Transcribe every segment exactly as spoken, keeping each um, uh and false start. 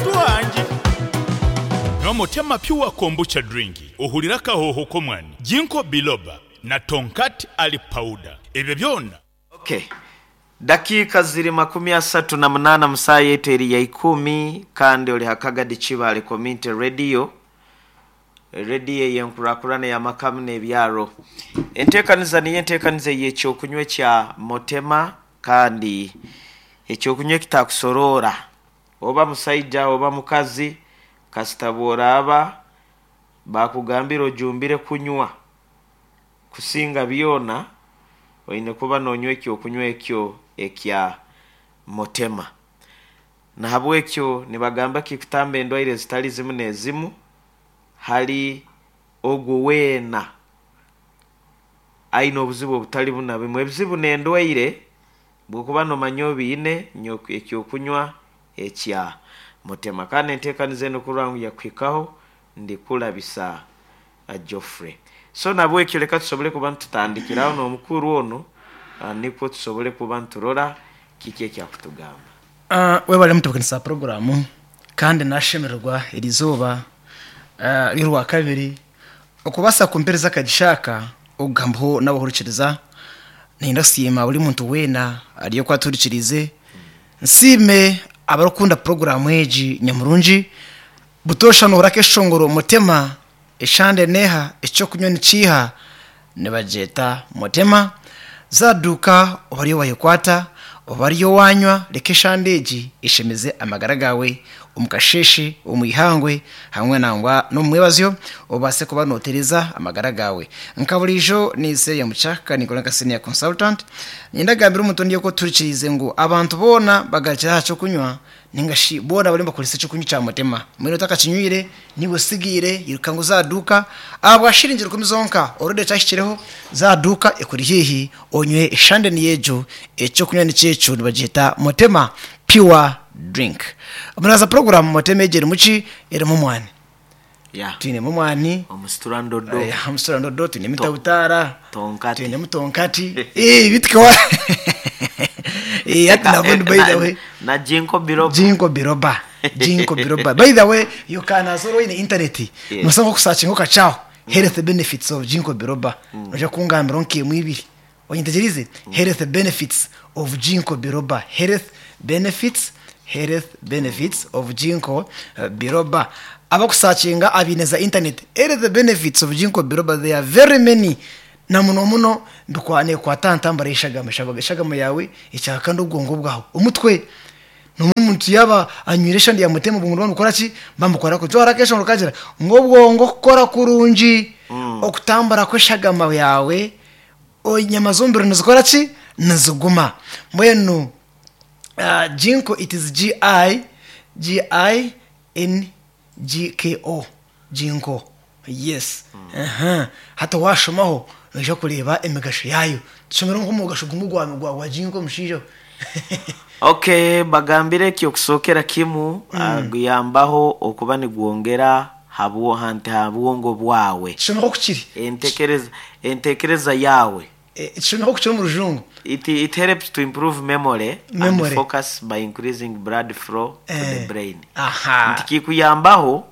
Wangye. Nywa Motema Pure Kombucha Drink ohurire akahooho k'omwani, Ginkgo Biloba na Tongkat Ali Powder. Ebyo byona. Okay. Dakiika ziri makumi asatu na munaana mu saaha yaitu eri ya ikumi kandi ori ha Kagadi Kibaale Community Radio, rediyo ey'enkurakurana ey'amaka hamwe n'ebyaro. Enteekaniza niyo enteekaniza ey'ekyokunywa ekya Motema kandi ekyokunywa ekitakusoroora oba musaija oba mukazi kasita bw'oraaba bakugambira ojumbire kunywa kusinga byona oine kuba noonywa ekyokunywa ekyo ekya Motema. Nahabwekyo nibagamba kikutamba endwaire zitali zimu n'ezimu hali ogwo weena aine obuzibu obutali buna bimwe. Ebizibu n'endwaire bw'okuba noomanya obiine nywa ekyokunywa ekya Motema. Kandi enteekaniza enu kurora ngu yakuhikaho ndikulabisa Geoffrey. So nabwekyo leka tusobole kuba nitutandikiraho n'omukuru onu nikwo tusobole kuba niturora kiki ekyakutugamba. Uh, webale mutebeekanisa puroguraamu kandi nashemererwa erizooba uh, ry'orwakabiri okubaasa kumpereza akagisha aka okugambaho n'abahurikiriza. Nayenda kusiima buri muntu weena ari oku atuhurikiriize, nsiime abarikukunda puroguraamu egi nyamurungi. Butoosha nohurira akeshongoro Mutema eshande neeha, ekyokunywa nikiiha, nibagyeta Mutema. Zaaduuka oba ariyo wayekwata oba ariyo wanywa, reka eshande egi eshemeze amagara gaawe omu kasheeshe, omu ihangwe hamwe nangwa n'omu mwebazyo, obaase kuba nootereza amagara gaawe. Nka buriijo niize Yamukyaka, ninkora nka senior consultant. Niinyenda kugambira omuntu ondiijo ku otuhurikiriize ngu abantu boona bagarukire aha kyokunywa ninga shi boona bariyo nibakoresa ekyokunywa kya Mutema. Mbwenu otakakinywire niiwe osigaire iruka ngu oze aha duuka ahabwa shiringi rukumi zonka already kyahikireho, za aha duuka ekuri haihi onywe eshande niyo egyo, ekyokunywa nikyo ekyo nibagyeta Mutema Pure Drink. Muraza puroguraamu Mutema egi erimu ki? Erimu omwani. Yeah. Twinemu omwani, Omusitura ndodo. eh, omusitura ndodo, twinemu To- tabutaara, Tonkati. twinemu tonkati. Eh, bitikawa. Eh, hati nabundi by the way. Na Ginkgo biloba. Ginkgo biloba. Ginkgo biloba. By the way, you can as well in internet. Yeah. Nosa nkokusearchinga okacaho health benefits of ginkgo biloba. Noija kungambira nk'emwe ibiri. Onyetegyereize? Health benefits of ginkgo biloba. Health benefits, health benefits of ginkgo uh, biloba. Abakusearchinga abaine za internet. Health benefits of ginkgo biloba, there are very many. Na muno muno mbikwa nekwata aha ntambara y'eshagama. Eshagama eshagama yawe ekyaka kandi obwongo bwawe. Omutwe n'omuntu yaaba anywire eshande ya Mutema obwongo nibamukora ki? Bamukora ku twara akeshongoro kagira ngu obwongo kukora kurungi, okutambura kw'eshagama yawe, enyama z'omubiri nizikora ki? Niziguma. Mbwenu uh, ginkgo, it is G I G I N G K O, ginkgo, yes. Aha hati washomaho noija kureeba emigasho yaayo. Tushomere nk'omugasho gumwe gwa, gwa, gwa ginkgo omushaija. Okay, bagambire ki okusookera kimu mm. guyambaho okuba nigwongera habwo hanti ha bwongo bwawe. Tushomeho kukiri. Entekereza entekereza yawe. Tushomeho kukiri omu rujungu. It, it helps to improve memory, Memory. and focus by increasing blood flow to the brain. Aha. Nti kikuyambaho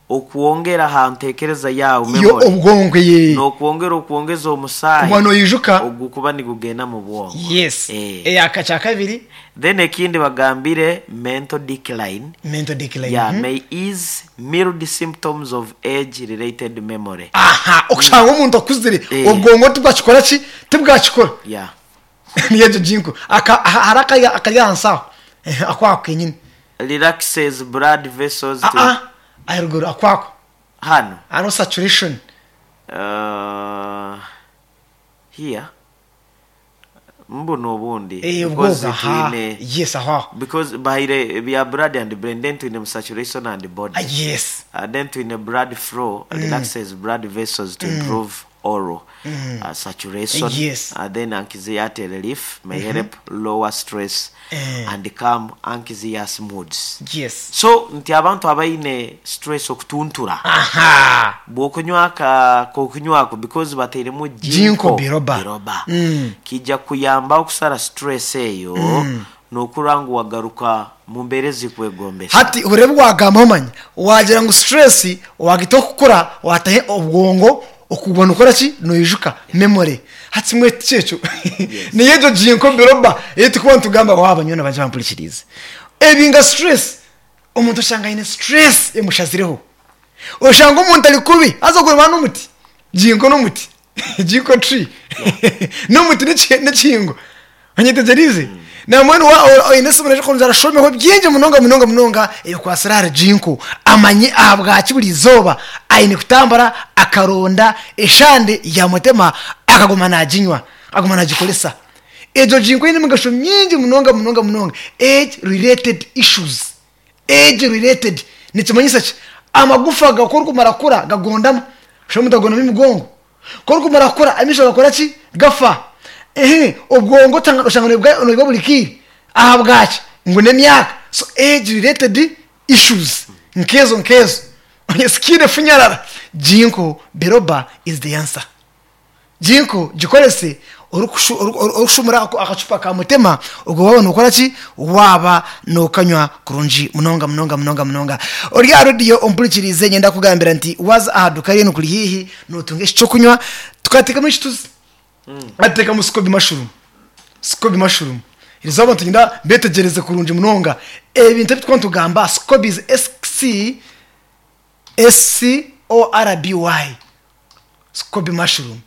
okwongera ha ntekereza yawe, yo memory, obwongo ye n'okwongera okwongeza omusaayi kuba noyijuka. Ogukuba nigugenda mu bwongo. Yes. Eh. Eyaka kya kabiri. Then ekindi bagambire mental decline. Mental decline. Yeah, Mhm. may ease mild symptoms of age related memory. Aha, okushanga omuntu akuzire Eh. obwongo tibwakikora ki? Tibwakikora. Yeah. Niyo egyo ginkgo. Aka- aha- hari akari akari ahansi aho. Eh, akwako kenyini. Relaxes blood vessels to Aa, aharuguru akwako. Hano. Hariho saturation. uh, here mbuna obundi Eh, because obwogo, aha. twine Yes, aho aho. because bahaire bya blood and brain, then twine mu saturation and body. Ah, yes. uh, then twine blood flow, relaxes blood vessels to improve oral uh, saturation. Yes. Uh, then anxiety relief, may help lower stress Eh. and calm anxious moods. Yes. So nti abantu abaine stress, okutuntura, Aha. bw'okunywa ka kokunywako because bateiremu Ginkgo biloba. biloba Mm. kijja kuyamba okusara stress eyo. Nokura ngu wagaruka mu mbeera ezikwegombesa. Hati urebe wagamba omanya wagira ngu stress wagita okukura watahe obwongo okubona ukora ki noijuka memory. Hati mwe kyekyo niyo egyo ginkgo biloba etukuba ntugamba waba nyona baje bampurikirize ebinga stress. Omuntu oshanga aine stress emushazireho, oshanga omuntu ari kubi aza kureba n'omuti ginkgo n'omuti ginkgo tree n'omuti n'ekihingo onyetegerize namwenu oine esimu nejo konzara shomeho byingi munonga munonga munonga ebikwasira ahari ginkgo amanye ahabwaki buri izooba aine kutambura akaronda eshande ya mutema akaguma naginywa akaguma nagikoresa. Egyo ginkgo eine emigasho mingi munonga munonga munonga. Age related issues, age related nikimanyisa ki? Amagufa gakora kumara kura gagondamu shomu mutagondamo emigongo kora kumara kura amisho gakora ki gafa. Ehe obwongo oshanga noibwa buri kiire ahabwaki ngu n'emyaka. So age related issues nkezo nkezo skin efunyarara ginkgo biloba is the answer. Ginkgo gikorese orikushumura akacupa ka mutema ogwo waba nokora ki waba nokanywa kurungi munonga munonga munonga munonga. Ori aha rediyo ompurikirize nyenda kugambira nti waza aha duka rinu kuri hihi notunga ekyokunywa tukateekamu ekituzi ateekamu scoby mushroom. Scoby mushroom irizoba tugenda betegereze kurungi munonga ebintu ebi twantugamba. Scoby is S C S C O R B Y, scoby mushroom,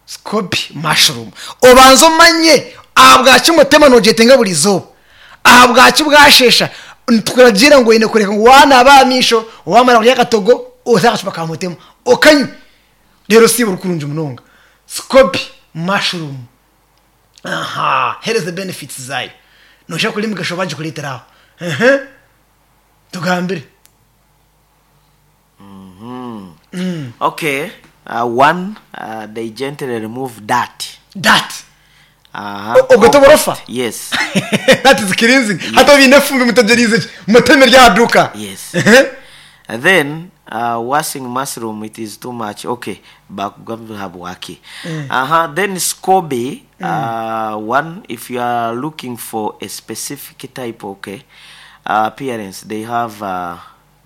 scoby mushroom. Obanza omanye ahabwaki mutema nogyetenga buri izooba, ahabwaki bwashesha tukuragira ngu oine kureka ngu wanaaba aha maisho wamara kurya akatogo ote akacupa ka mutema okanywa reero siibura kurungi munonga. Scoby mushroom, aha, here is the benefits zayo noshaka kurya emigasho bagikureetera aho. Ehe tugambire. Okay, uh, one, uh, they gently remove dirt. Dirt. Aha. Ubwo tuborofa? Yes. That is cleansing. Hato bine fumbi mutegerize muteme rya duka. Yes. Ehe. And then uh, washing mushroom, it is too much. Okay, bakugambi habwaki. Aha, then scoby, uh, one, if you are looking for a specific type, okay, uh, appearance, they have, uh,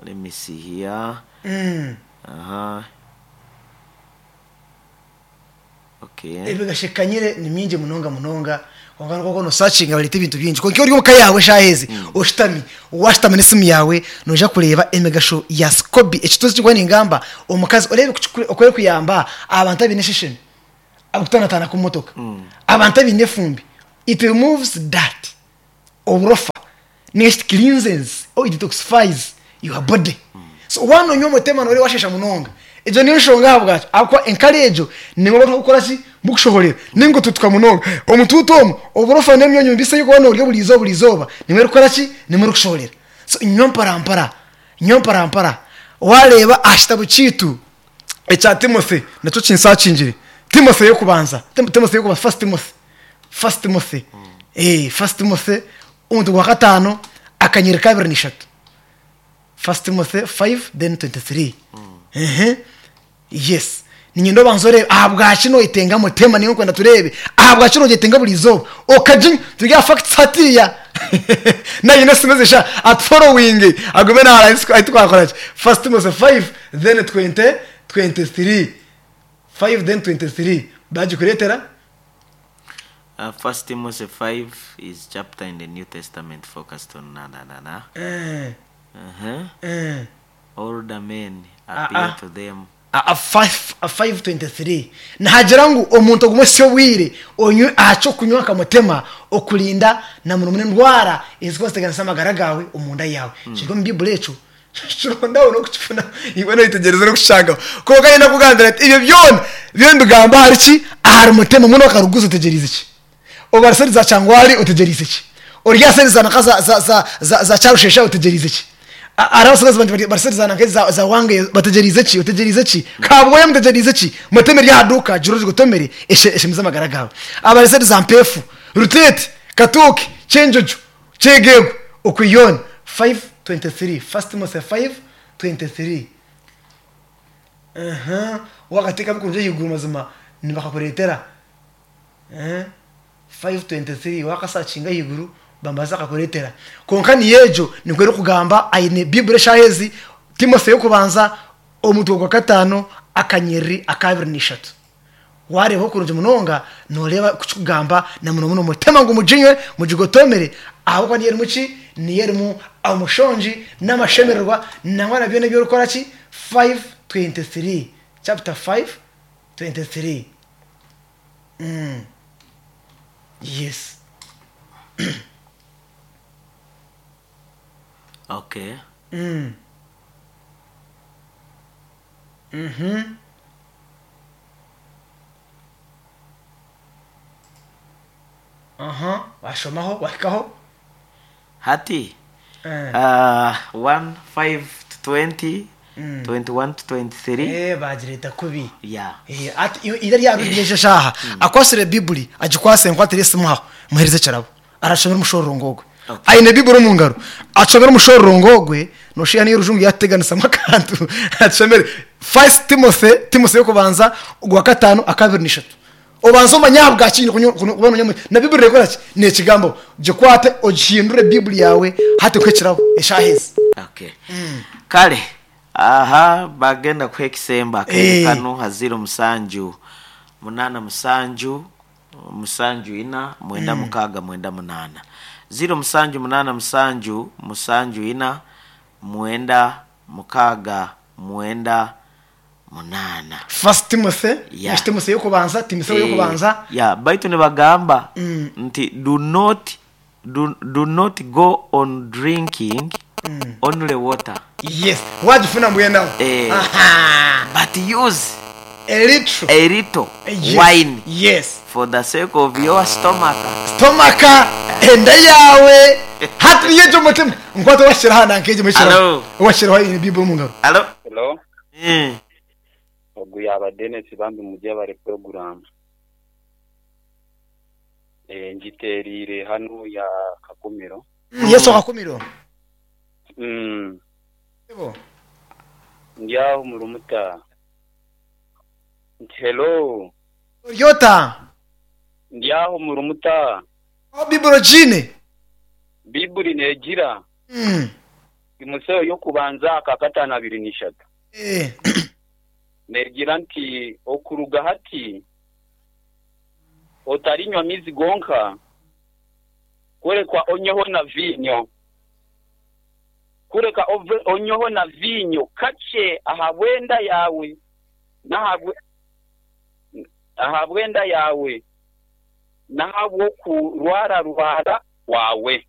let me see here. Mm. Aha. Okay. Ebigashekanyire ni mingi munonga munonga kwonka koko nosacinga bareta ebintu bingi konka ori omuka yawe shahezi oshitami washitama n'esimu yawe noja kureeba emigasho ya scoby. Ekituzi kikuba ningamba omukazi orebe okore kuyamba abantu abaine eshesheni abakutanatana ku motoka abantu abaine efumbi. It removes that oburofa next cleanses or it detoxifies your body. So wanonywa omutema nore washesha munonga egyo niyo nshonga ahabwaki ahabwokuba enkari egyo nimwe bakukora ki bukushohorera ningo tutuka munonga omutuutu omwo oburofa n'emyonyo mbisi ey'okuba norya buri izooba buri izooba nimwe erikukora ki nimwe erikushohorera. So nywa mparampara nywa mparampara wareeba aha kitabo kiitu ekya Timothy nakyo kinsakingire Timothy y'okubanza Timothy y'okubanza First Timothy First Timothy eh First Timothy omuntu gwa kataano akanyiri kabiri n'ishatu First Timothy five then twenty-three. Ehe yes ninyenda obanza orebe ahabwaki noyetenga mutema niyo nkwenda turebe ahabwaki noyetenga buri izooba okaginywa turya facts hatiya nayine simeze sha at following agume nahara twakora ki First Timothy five then twenty twenty-three five then twenty-three bagikureetera. Uh, First Timothy five is chapter in the New Testament focused on na na na na. Eh, Uh-huh. eh. Older men Ah, appear ah. to them. A five a five twenty-three nahagira ngu omuntu ogumwe si obwire onywe aha kyokunywa akamutema okurinda na muno muno endwara ezikuba ziteganisa amagara gawe omunda yawe kiri omu bibuli ekyo kirondaho n'okukifuna iwe noyitegereza n'okushangaho konka nyine kugambira ati ebyo byona byona mbigamba ahari ki ahari mutema muno akaruguza otegerize ki obariseri za kyangwari otegerize ki oryaseri za naka za za za za, za kyarushesha otegerize ki ari abasigazi bandi bariseri za naka za, za wange bategerize ki otegerize ki kabwoya mutegerize ki muteme rya duka jiro gotomere eshemiza amagara gawe abariseri za mpefu rutete katuke cyenjojo cyegego okuyona five twenty-three First Timothy five twenty-three. Aha wakateka bikunje yiguru mazima nibakakuretera eh five twenty-three wakasakinga higuru bambaza akakuretera konka niyejo nikwo kugamba aine Bible shahezi Timotheo kubanza omutwe gwa katano akanyeri akabiri nishatu wareho kurungi munonga noreba kugamba na muno muno mutema ngo mujinywe mujigotomere aho kwa niyeri muki niyeri mu amushonji n'amashemererwa nangwa nabyo nabyo rukora ki five twenty-three chapter five twenty-three. Mm. Yes. Okay. Mm. Mhm. Aha, washomaho wahikaho hati Eh. uh, one five to twenty, Mm. twenty-one to twenty-three. Eh bagireta kubi. Yeah. Eh ati ira rya shaha akwasire Bible agikwase nkwatire simuhaho muhereze kirabo arashomera umushorongogwe. Okay. Aine Bible mu ngaro acomera umushorongogwe noshiya niyo rujungu yateganisa makantu acomere First Timothy Timothy yo kubanza gwa katano akabiri nishatu obanza omanyabwa kintu kubona nyamwe na Bible rekora ki ne kigambo gikwate ogihindure Bible yawe hati kwekirabo eshaheze. Okay. Kale aha bagenda kwekisemba Eh. kano haziro musanju munana musanju musanju ina mwenda mukaga mwenda munana ziro musanju munana musanju musanju ina mwenda mukaga mwenda munana. First Timothy Yeah. yeah. Timothy yo kubanza Timothy yo Eh, kubanza yeah, baitu nibagamba Mm. nti do not do, do not go on drinking mm. only water. Yes, wajifuna mbwena Eh. aha but use a little a little yes. wine yes for the sake of your stomach. stomaka enda yawe hati niyejo mutima nkwata washira hana nkeje mushira Hello. washira ni Bible mu ngaro. Hello. Hello. Mm. Ogu yaba Dennis bambi mujye bare program. Eh ngiterire hano ya Kakumiro. Yesu Kakumiro. Mm. Yebo. Ndiaho murumuta. Hello. Yota. Ndiaho murumuta. O Bible jine. Bible negira. Mm. Imuseo yo kubanza akakatana abiri nishatu. Eh. Negira nti okuruga hati otarinywa mizi gonka kurekwa onyoho na vinyo kureka onyoho na vinyo kache ahabwenda yawe nahabwe ahabwenda yawe nahabwo kurwara rwara wawe.